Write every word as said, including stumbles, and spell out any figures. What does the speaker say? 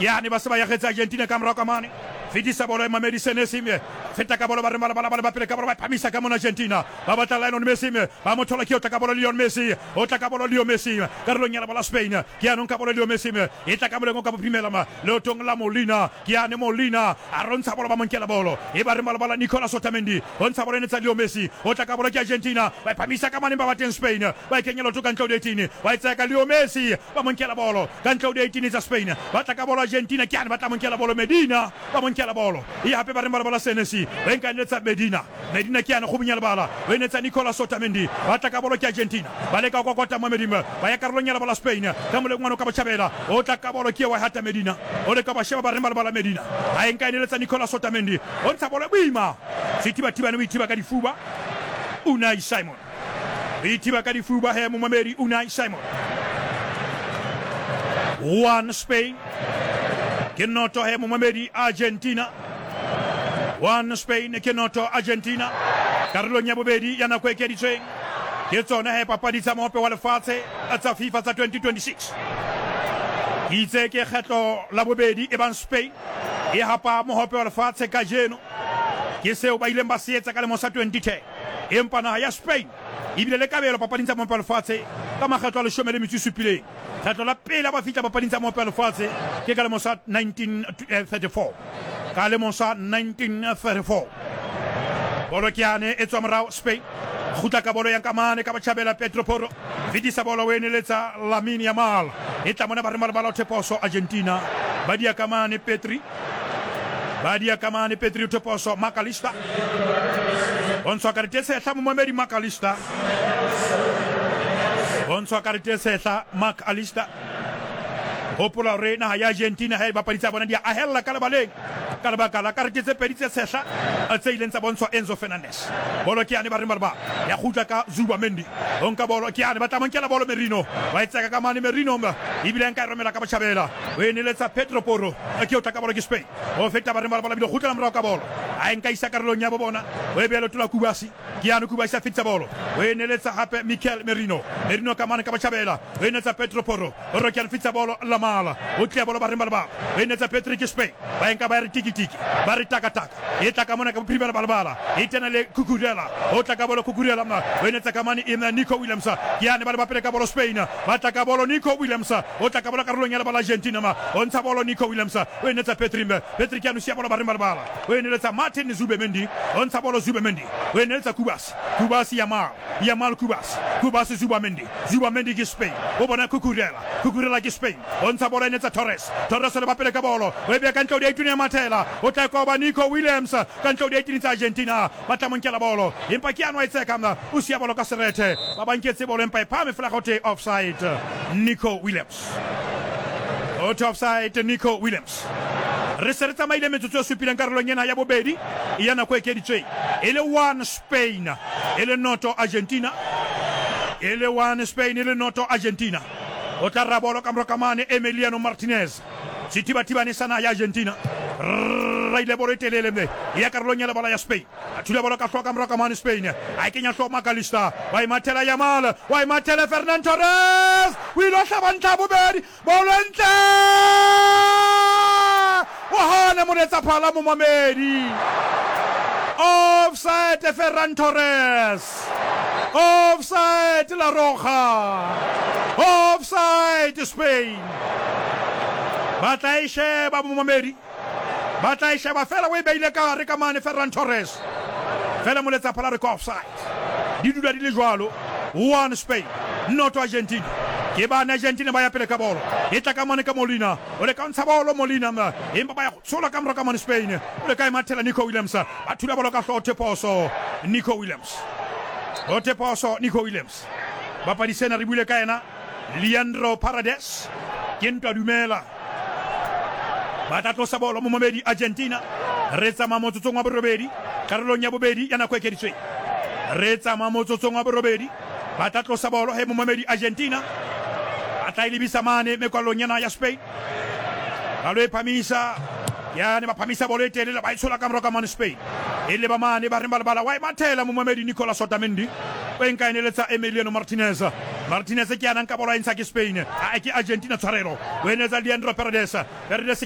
Ke yane ba se ba yagetse Argentina ka morao ka mane. Fetisa bolo e Mamedi Senesi me. Feta ka bolo ba re bala bala ba pele ka bolo ba phamisa ka mona Argentina. Ba batla Lionel Messi me. Ba mo thola ke o tla ka bolo Lionel Messi. O tla ka bolo Leo Messi. Karolong ya la Spain. Ke yanong ka bolo Leo Messi me. E tla ka moleng ka bophirimela ma. Leotong la Molina. Ke yane Molina. A rontsha bolo ba mo nkela bolo. E ba re bala bala Nicolas Otamendi. O ntsha bolo e netsa Leo Messi. O tla ka bolo ke Argentina. Ba phamisa ka mane ba bateng Spain. Ba e kenya leoto ka ntle ho di-eighteen. Ba e tsaya ka Leo Messi. Ba mo nkela bolo. Ka ntle ho di-eighteen tsa Spain. Ba tla ka bolo Argentina. Ke yane ba tla mo nkela bolo Medina. Ba mo nkela bolo. E hape ba re bala bala Senesi. Ba nka netsa Medina. Medina ke yane go bunya lebala. O e netsa Nicolas Otamendi. Ba tla ka bolo ke Argentina. Ba leka go kokota mo Medina. Ba ya karolong ya lebala Spain. Ka moleng ngwana ka botjhabela. O tla ka bolo ke wa hata Medina. O leka ba sheba ba re bala bala Medina. A e nka e neletsa Nicolas Otamendi. O ntsha bolo e boima. Sethibathibane o ithiba ka difuba. Unai Simon. O ithiba ka difuba he momamedi Unai Simon. One Spain. Ke noto he momamedi Argentina. One Spain ke noto Argentina. Karolong ya bobedi ya nako e ekeditsweng. Ke tsona he papadi tsa mohope wa lefatshe tsa FIFA tsa twenty twenty-six. Ke itse ke kgetlo la bobedi e bang Spain e hapa mohope wa lefatshe kajeno. Ke seo ba ileng ba se etsa ka lemo sa twenty ten. Empa naha ya Spain ebile le kabelo papading tsa mohope wa lefatshe ka makgetlo a leshome le metso e supileng. Kgetlo la pele ba fihla papading tsa mohope wa lefatshe ke ka lemo sa nineteen thirty-four. Ka lemo sa nineteen thirty-four. Bolo ke yane e tswa morao Spain. Kgutla ka bolo ya nka mane ka botjhabela Pedro Porro. Fetisa bolo o e neletsa Lamine Yamal. E tla mona ba re malabala o theposo Argentina. Ba dia ka mane Petri. Ba dia ka mane Petri o theposo Makalista. O ntshwa karete e sehla momamedi Makalista. O ntshwa karete e sehla Mark Alista. Hopola hore naha ya Argentina ha e bapadi tsa bona di a ahella ka lebaleng ka lebaka la karete tse pedi tse sehla tse ileng tsa bontshwa Enzo Fernandez. Bolo ke yane ba re ba ya kgutla ka Zubimendi. O nka bolo ke yane ba tla mo nkela bolo Merino. Ba e tseka ka mane Merino ebile nka e romela ka botjhabela. O e neletsa Pedro Porro. Ke o tla ka bolo ke Spain. O feta ba re ba bile kgutlela morao ka bolo. A e nka isa karolong ya bo bona. O e beha leoto la Kubasi. Ke yane Kubasi a fetisa bolo. O e neletsa hape Mikel Merino. Merino ka mane ka botjhabela. O e neletsa Pedro Porro. O re ke a fetisa bolo Lamala. O tlia bolo ba re ba. O e neletsa Patrick Spain. Ba nka ba re tiki tiki. Ba re taka taka. E tla ka mona ka bophirima ba lebala. E tena le Cucurella. O tla ka bolo Cucurella ma. O e netsa ka mane e Nico Williams. Ke yane ba le ba pele ka bolo Spain. Ba tla ka bolo Nico Williams. O tla ka bolo karolong ya lebala Argentina ma. O ntsha bolo Nico Williams. O e netsa Petri. Petri ke a nosia bolo ba re ba lebala. O e neletsa Martin Zubimendi. O ntsha bolo Zubimendi. O e neletsa Kubas. Kubas Yamal. Yamal Kubas. Kubas Zubimendi. Zubimendi ke Spain. O bona Cucurella. Cucurella ke Spain. O ntsha bolo e netsa Torres. Torres o le ba pele ka bolo. O e beha ka ntle ho di-eighteen ya Mathela. O tla koba Nico Williams ka ntle ho di-eighteen tsa Argentina. Ba tla mo nkela bolo. Empa ke ano a e tseka mna. O siya bolo ka serethe. Ba ba nketse bolo empa e phahame fela ho thwe offside. Nico Williams. O thwe offside Nico Williams. Re se re tsamaile metsotso e supileng karolong ena ya bobedi ya nako e ekeditsweng. E le one Spain, e le noto Argentina. E le one Spain, e le noto Argentina. O tla rabolo ka morao ka mane Emiliano Martinez. Sethibathibane sa naha ya Argentina. Raile bolo e telele mme ya karolong ya lebala ya Spain. A thula bolo ka hlooho ka morao ka mane Spain. A e kenya hlooho Makalista. Wa e mathela Yamal. Wa e mathela Fernan Torres. O ile hlaba ntlha bobedi. Bolo ntle. O hana moletsa phala momamedi. Offside Ferran Torres. Offside La Roja. Offside Spain. Ba tla e sheba momamedi. Ba tla e sheba fela o e beile ka hare ka mane Ferran Torres. Fela moletsa phala re ka offside. Di dula di le jwalo. One Spain, noto Argentina. Ke bana Argentina ba ya pele ka bolo. E tla ka mane ka Molina. O le ka ntsha bolo Molina ma. Empa ba ya tshola ka morao ka mane Spain. O le ka e mathela Nico Williams. Ba thula bolo ka hlooho theposo Nico Williams. O theposo Nico Williams. Bapadi sena re buile ka yena Leandro Paredes. Ke ntwa dumela. Ba tla tlosa bolo momamedi Argentina. Re tsamaya motsotsong wa borobedi karolong ya bobedi ya nako e ekeditsweng. Re tsamaya motsotsong wa borobedi. Ba tla tlosa bolo he momamedi Argentina. Ba tla e lebisa mane mekwalong yana ya Spain. Ba lo e phamisa. Yane ba phamisa bolo e telele ba e tshola ka morao ka mane Spain. E leba mane ba reng ba lebala wa e mathela momamedi Nicolas Otamendi. O e nka e neletsa Emiliano Martinez. Martinez ke yana nka bolo a e ntsha ke Spain. A ke Argentina tshwarelo. O e neletsa Leandro Paredes. Paredes